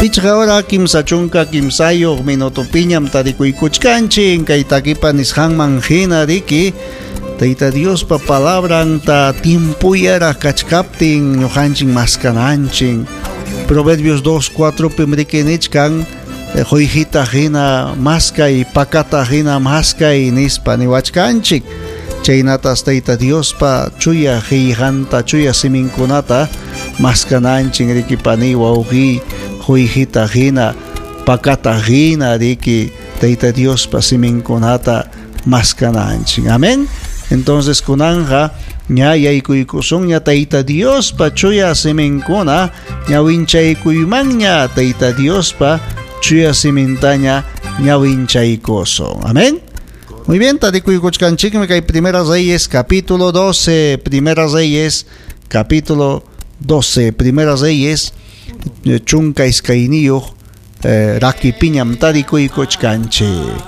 Pichqa hora 33 minutopiñam tarikuykuchkanchik kay takipa nisqanman hina riki Tayta Diospa palabranta tiempuyaraq kachkaptin ñuqanchik maskananchik. Proverbios 2:4 pim riki nichkan quyqita hina maskay, pakata hina maskay nispa niwachkanchik. Chaynatas Tayta Diospa chuya qillqanta, chuya siminkunata maskananchik riki pani wawqi quyqita hina, pakata hina riki Tayta Diospa siminkunata maskananchik. Amén. Entonces kunanja ña yaykuykusunña Tayta Diospa chuya siminkuna ñawinchaykuymanña Tayta Diospa chuya simintaña ñawinchaykusun. Amén. Muy bien, tarikuykuchkanchikmi kay Primera Reyes capítulo 12, Primera Reyes capítulo 12, Primera Reyes 12 rakipiñam tarikuykuchkanchik.